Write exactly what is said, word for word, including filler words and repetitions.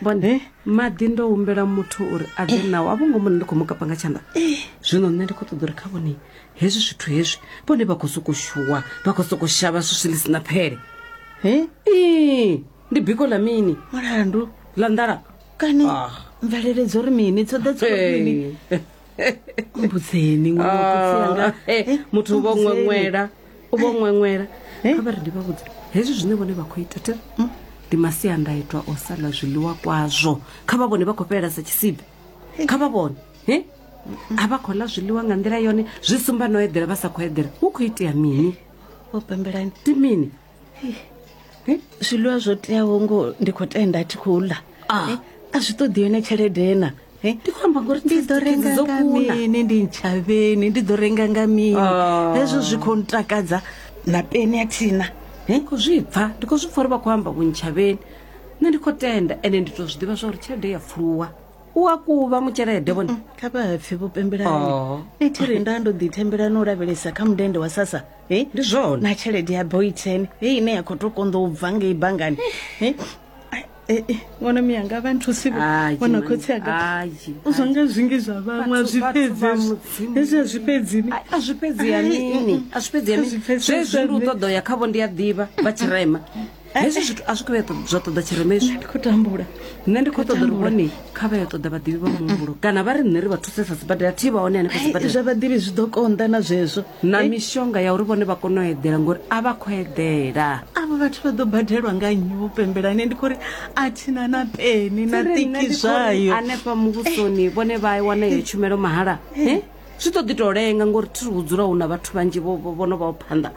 Vhone maḓi ndo humbela muthu uri a ḓe nao, a vho ngo mona ndi khou mu kapa nga tshanḓa. Zwino nṋe ndi khou ṱoḓa uri kha vhone hezwi zwithu hezwi vhone vha khou sokou shuwa, vha khou sokou shavha swiswi ḽi si na phele. He? Ii, ndi biko ḽa mini? Mulandu ḽa nḓala kani Ah. mvelele dzo ri mini, dzo ḓa dzo ri mini? Mbudzeni ṅwana wa khotsi anga. Ah, eh, muthu u vho Mbudzeni. ṅweṅwela, u vho ṅweṅwela. Eh? Kha vha ri ndi vha vhudze hezwi zwine vhone vha khou ita thi ndi masiandaitwa o sala zwiḽiwa kwazwo. Kha vha vhone vha khou fhelela sa tshisibe, kha vha vhone he a vha khou ḽa zwiḽiwa nga nḓila yone, zwi sumba no eḓela vha sa khou eḓela. Hu khou itea mini? Vho pembelani, Ndi mini? He? Zwiḽiwa zwo teaho ngo ndi khou tenda thi khou ḽa. Ah. Eh, a zwi ṱoḓi yone tshelede na. Eh? Ndi khou amba ngori Ndi ḓo renga dzo nga kuna. mini? Ndi ntshavheni, ndi ḓo renga nga mini? Ah. Hezwo zwi khou ntakadza na peni a thina. Ndi khou zwi pfa, ndi khou zwi pfa uri vha khou amba vhuntshavheni. Nṋe ndi khou tenda, ende ndi tou zwi ḓivha zwa uri tshelede ya pfuluwa u a kuvha mutshelede vhone. Kha vha pfe vho pembelani. Oh. Nṋe thi ri nda ndo ḓi thembela no lavhelesa kha mundende wa sasa. Eh? Ndi zwone. Na tshelede ya boyten heyi ine ya khou tou konḓa u bva ngei banngani. Eh? Ai, eh, eh, ṅwana miyanga vha nthusi vho. Ai, Ṅwana mani. khotsi anga. Ai, U zwa nga zwingi zwa vhaṅwe a Vhathu- zwi vhathu fhedzi vha hezwi. Mudzimu. Hezwi a zwi fhedzi ni. Ai, a zwi fhedzi ya mini? A zwi fhedzi ya A mini? zwi fhedzi Zwezwi ndi u nṋe. ṱoḓa u ya khavho, ndi a ḓivha vha tshirema. Hezwi zwithu a zwi khou vhuya ṱo- zwa ṱoḓa tshirema hezwi. Ndi khou tambula. Nṋe ndi khou ṱoḓa uri Tambula. vhone kha vha ya ṱoḓa vhaḓivhi vha muhumbulo, kana vha ri nṋe ri vha thusesa sibadela, thi vha hone hanefha Ai, sibadela. zwa vhaḓivhi zwi ḓo konḓa na zwezwo. Na Eh, mishonga ya uri vhone vha kone u eḓela, ngori a vha khou eḓela. Avho vhathu vha ḓo badelwa nga nnyi vho pembelani? Ndi khou ri a thina na peni na Tsiri nṋe tiki ndi khou ri zwayo. Hanefha muvhusoni vhone vha wana iyo tshumelo mahala. He? Zwi ḓo ḓi tou lenga ngori thi ri hu dzula hu na vhathu vhanzhi vho vho- vho no vhaho phanḓa.